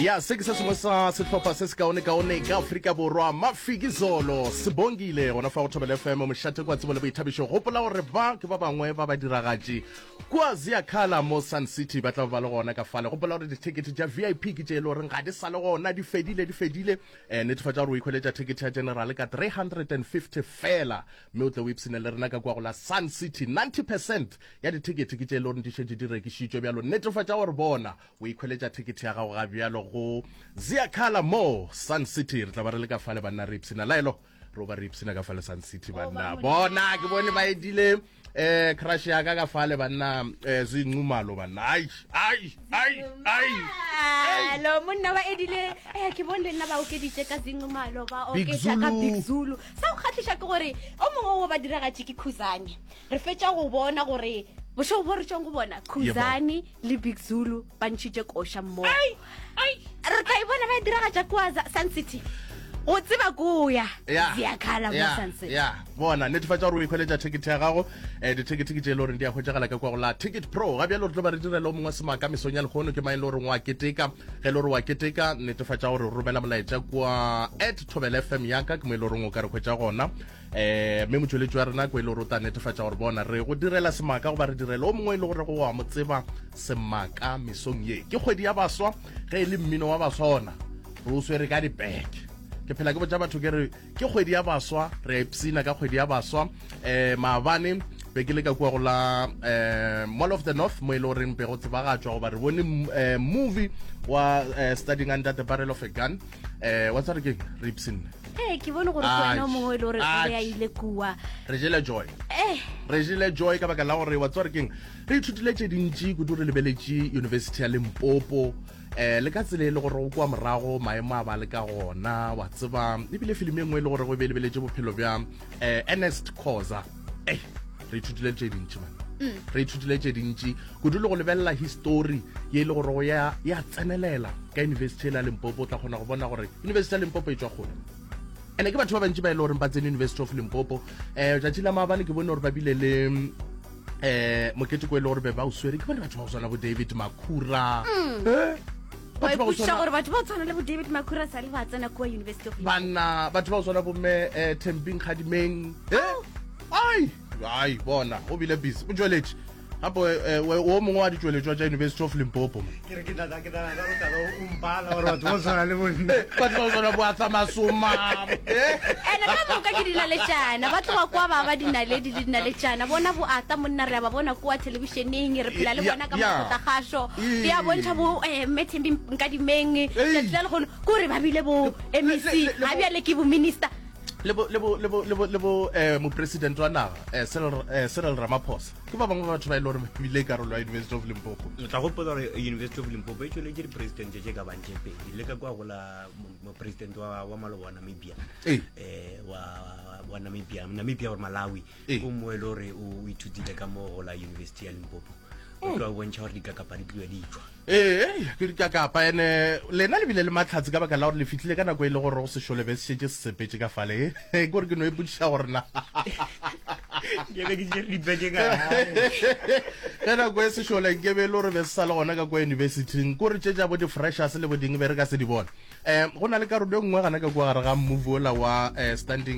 Ya, se ke se sengwe sa sehlopha se sekaonekaone ka Afrika Borwa, Mafikizolo, se bongile gona fa go Thobela FM, mošate kwa tsebo le boithabišo. Gopola gore ba ke ba bangwe ba badiragatši kua Ziakhala mo Sun City, ba tla ba le gona ka fale. Gopola gore dithekete tša VIP ke tše e le goreng ga di sa le gona, di fedile, di fedile. Eh, netefatša gore o ikhweletša thekete ya general ka 350 fela, mme o tle o ipshine le rena ka kua go la Sun City. 90 percent ya dithekete ke tše e le goreng di šetše di rekišitšwe bjalo. Netefatša gore bona O ikhweletša thekethe ya gago ga bjalo go Ziakhala mo Sun City. Re tla ba re le ka fale banna re ipshina. Laelo, re ba re ipshina ka fale Sun City banna. Bona, ke bone ba edile eh crush ya ka ka fale banna eh Zinqumalo banna. Ai, ai, ai, ai. Alo monna ba edile eh ke bone le nna ba okeditše ka Zinqumalo ba oketša ka Big Zulu. Sa go kgahliša ke gore o mongwe wa badiragatši ke Khuzani. Re fetša go bona gore bošego bo re tšwang go bona Khuzani le Big Zulu ba ntšhitše koša mmogo. Re tla e bona ba e diragatša kua Sun City. Go tseba ko ya Ziakhala mo Sun City. Ya, bona netefatša gore o ikhweletša ticket ya gago. Eh dithekete ke tše e le goreng di a hwetšagala ka kwa go la Ticket Pro. Ga bjalo re tlo ba re direla o mongwe semaka mesong ya lehono ke mang e le goreng wa keteka. Ge e le gore wa keteka netefatša gore o romela molaetša kua at Thobela FM ya ka ke mo e le goreng o ka re hwetša gona. um mme motšweletši wa rena ko e le gore o tla netefatša gore bona re go direla semaka goba re direla o mongwe e le gore go wa mo tseba semaka mesong ye ke kgwedi ya baswa ge e le mmino wa baswa ona re o swere ka dipeke ke phela ke botša batho ke re ke kgwedi ya baswa re a ipsina ka kgwedi ya baswa um maabane be ke le ka kua go la um mall of the north mo e le goreng be go tsebagatšwa goba re bone um movie wa uh, studying under the barrel of a gun um wa tsare ke re ipsinne ee ke bone gore ke wena o mongwe e le gore o be a ile kua re jele joy eh. re jele joy ka baka la gore wa tsware keng re ithutile tše dintši kudu re lebeletše university ya limpopo eh le ka tsela e le gore o kwa morago maemo a ba le ka gona wa tseba ebile filimi e nngwe e le gore go be e lebeletše bophelo bja eh Ernest Khoza eh re ithutile tše dintši man mm. re ithutile tše dintši kudu le go lebelela history ye e le gore go ya ya tsenelela ka university ya Limpopo o tla kgona go bona gore university ya Limpopo e tswa kgole ene ke batho ba bantši ba e le goreng ba tsene University of Limpopo um tšatši la maabane ke bone gore ba bile le um moketeko e le gore be ba o swere ke bone batho ba go tshwana bo David Makhura mm. eh? batho ba go tshwana gore batho ba tshwana le bo David Makhura sa le ba tsena kua University of banna batho ba go tshwana bo mme eh, Thembing Kgadimeng eh oh. ai ai bona o bile busy o tšweletše gape eh, o mongwe wa ditšweletšwa tša University of Limpopo ke re ke tla ke tla ka tla o mpala gore batho ba tshwana le bonna eh, batho ba tshwana bo atsa masoma eh. ene ka moka ke dinaletšana ba tloga kwa ba ba dinaledi le dinaletšana bona bo ata monna re a ba bona kwa thelebišeneng re phela le bona ka mokgotlagašo ya bontšha bo eh, mme Thembi Nkadimeng tšatši la lehono ke gore ba bile bo MEC ga bjale ke bo minister le bo le bo le bo le bo le bo eh mopresident wa naga eh Cyril eh, Cyril Ramaphosa ke ba bangwe ba batho ba e le gore ba bile karolo ya University of Limpopo o tla gopola gore University of Limpopo e tšweletše dipresidente tše ka bang tše pedi le ka kwa go la mopresidente wa wa maloba wa Namibia eh wa wa Namibia Namibia or Malawi o mo e le gore o ithutile ka mo go la University ya Limpopo o tlo bontšha gore dikakapa di tliwa di tšwa Ee, ke dikakapa ene lena le bile le mahlatse ka baka la gore le fihlile ka nako e le gore go sešole be se šetše se sepetše ka fale. Ke gore ke no ipotšiša gore na Ke be ke tšere dipeke ka gae. Ka nako e sešole nke be e le gore be se sa le gona ka kwa universityng, ke gore tše tša bo di-freshers le bo ding be re ka se di bone. Um go na le karolo e nngwe gana ka kua gare ga movie ola wa um standing.